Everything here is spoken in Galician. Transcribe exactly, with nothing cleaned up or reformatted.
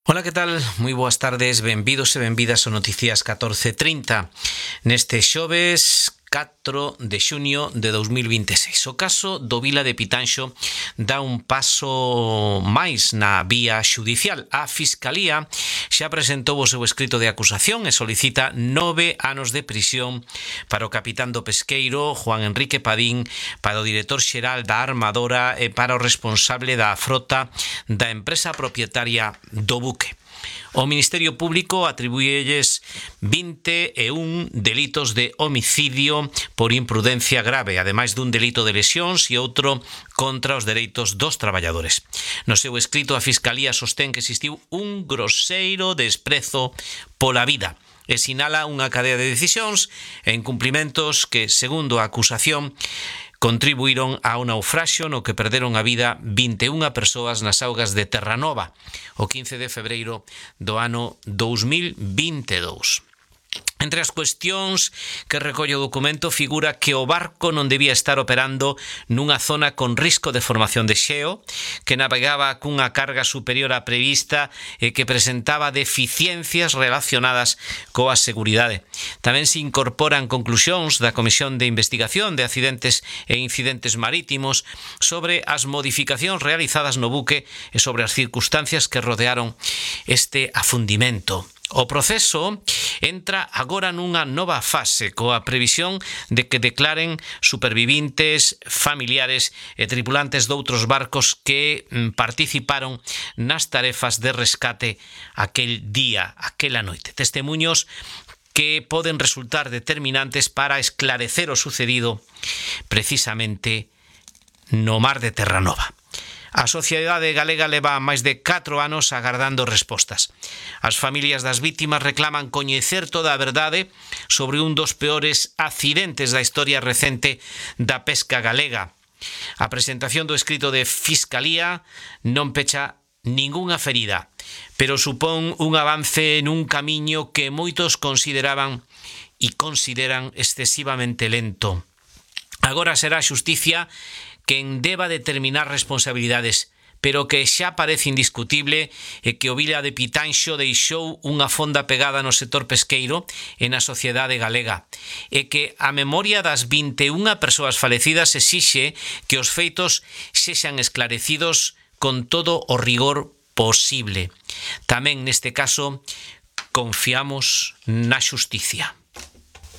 Ola, que tal? Moi boas tardes, benvidos e benvidas ao Noticias catorce trinta neste xoves catro de xuño de dous mil vinte e seis. O caso do Vila de Pitanxo dá un paso máis na vía xudicial. A Fiscalía xa presentou o seu escrito de acusación e solicita nove anos de prisión para o capitán do pesqueiro Juan Enrique Padín, para o director xeral da armadora e para o responsable da frota da empresa propietaria do buque. O Ministerio Público atribúelles vinte e un delitos de homicidio por imprudencia grave, ademais dun delito de lesións e outro contra os dereitos dos traballadores. No seu escrito, a Fiscalía sostén que existiu un groseiro desprezo pola vida e sinala unha cadea de decisións e incumplimentos que, segundo a acusación, contribuíron ao naufraxio no que perderon a vida vinte e unha persoas nas augas de Terranova o quince de febreiro do ano dous mil vinte e dous. Entre as cuestións que recolle o documento figura que o barco non debía estar operando nunha zona con risco de formación de xeo, que navegaba cunha carga superior á prevista e que presentaba deficiencias relacionadas coa seguridade. Tamén se incorporan conclusións da Comisión de Investigación de Accidentes e Incidentes Marítimos sobre as modificacións realizadas no buque e sobre as circunstancias que rodearon este afundimento. O proceso entra agora nunha nova fase coa previsión de que declaren supervivintes, familiares e tripulantes doutros barcos que participaron nas tarefas de rescate aquel día, aquela noite. Testemuños que poden resultar determinantes para esclarecer o sucedido precisamente no mar de Terranova. A sociedade galega leva máis de catro anos agardando respostas. As familias das vítimas reclaman coñecer toda a verdade sobre un dos peores accidentes da historia recente da pesca galega. A presentación do escrito de Fiscalía non pecha ningunha ferida, pero supón un avance nun camiño que moitos consideraban e consideran excesivamente lento. Agora será a xusticia quen deba determinar responsabilidades, pero que xa parece indiscutible é que o Vila de Pitanxo deixou unha fonda pegada no sector pesqueiro e na sociedade galega, e que a memoria das vinte e unha persoas falecidas exixe que os feitos sexan esclarecidos con todo o rigor posible. Tamén neste caso confiamos na xusticia.